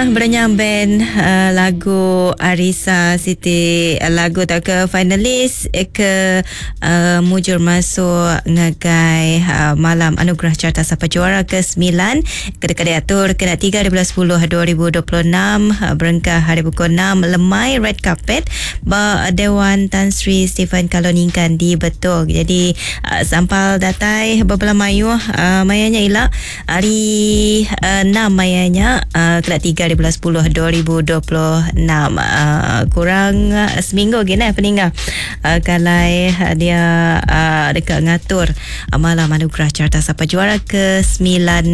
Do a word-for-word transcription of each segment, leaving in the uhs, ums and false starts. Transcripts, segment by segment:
Berenyang band uh, lagu Arisa Siti lagu tak ke finalis ke uh, mujur masuk ngagai uh, malam anugerah carta sapa juara ke sembilan ke diatur kena tiga hari bulan sepuluh dua ribu dua puluh enam uh, berengkah hari pukul enam lemai red carpet ba Dewan Tan Sri Stephen Kaloningkan di Betong. Jadi uh, sampal datai beberapa mayuh uh, mayanya ila hari uh, enam mayanya uh, kena tiga hari bulan sepuluh dua ribu dua puluh enam uh, kurang uh, seminggu lagi nah peninggal uh, kalau uh, dia uh, dekat ngatur uh, malam anugerah carta sapa juara ke sembilan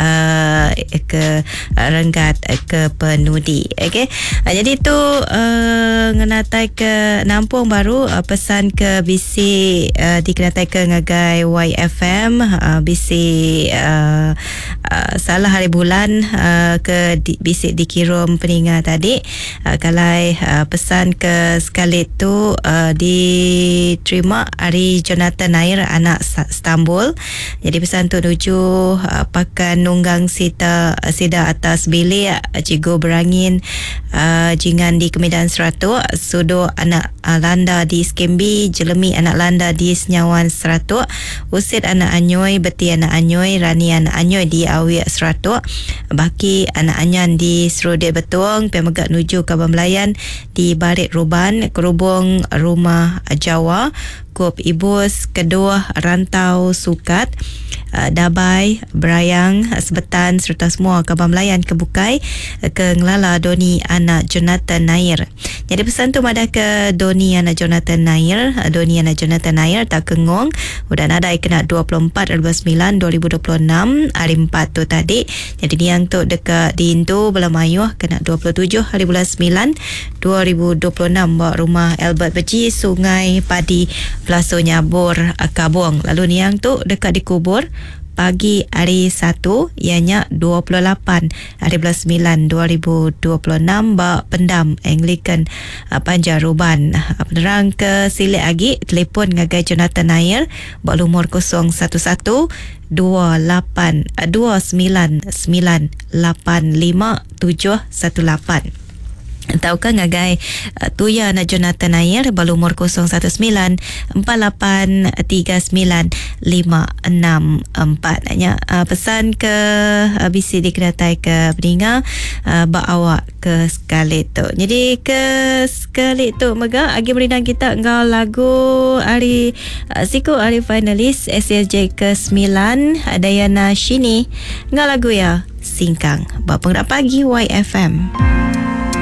uh, ke uh, renggat uh, ke penudi. Okey, uh, jadi tu uh, ngenatai ke nampung baru uh, pesan ke B C uh, dikenatai ke ngagai Y F M uh, B C uh, uh, salah hari bulan uh, ke di, B C dikirim peninga tadi uh, kalau uh, pesan ke sekali tu uh, diterima hari Jonathan Nair anak Istanbul. Jadi pesan tu nuju uh, pakan nunggang sita sida atas bilik cikgu berangin uh, jingan di Kemidan Seratuk, sudo anak uh, landa di Skembi, jelemi anak landa di Senyawan Seratuk, usit anak anyoi, beti anak anyoi, rani anak anyoi di Awiak Seratuk, baki anak anyan di Serudit Betuang, pemegak nuju Kaban Melayan di Barit Ruban, Kerubung Rumah Jawa, Kup Ibus, Keduh, Rantau, Sukat, Dabai, Berayang, Sebetan serta semua Kaban Melayan Kebukai ke Ngelala Doni anak Jonathan Nair. Jadi pesan tu madah ke Doni anak Jonathan Nair, Doni anak Jonathan Nair tak kengong udah nadai kena dua puluh empat hari bulan sembilan dua ribu dua puluh enam hari empat tu tadi. Jadi niang tu dekat di Indu Belamayuh kena dua puluh tujuh hari bulan sembilan dua ribu dua puluh enam buat rumah Albert Beji Sungai Padi Pelaso Nyabur Kabong. Lalu niang tu dekat dikubur pagi hari Satu ianya dua puluh lapan hari bulan sembilan dua ribu dua puluh enam ba Pendam Anglican Panjaruban. Penerang ke silik lagi telefon ngagai Jonathan Nair ba lumur kosong satu satu dua lapan dua sembilan sembilan lapan lima tujuh satu lapan. Atau ke ngagai uh, Tuya anak Jonathan Nair berumur kosong satu sembilan empat lapan tiga sembilan lima enam empat. Nya uh, pesan ke uh, B C dikenatai ke peninga uh, bak awak ke sekali tu. Jadi ke sekali tu mega agi merindang kita ngau lagu hari uh, siku hari finalis S S J ke sembilan Dayana Shini ngau lagu ya Singkang. Bak penggerak pagi Y F M.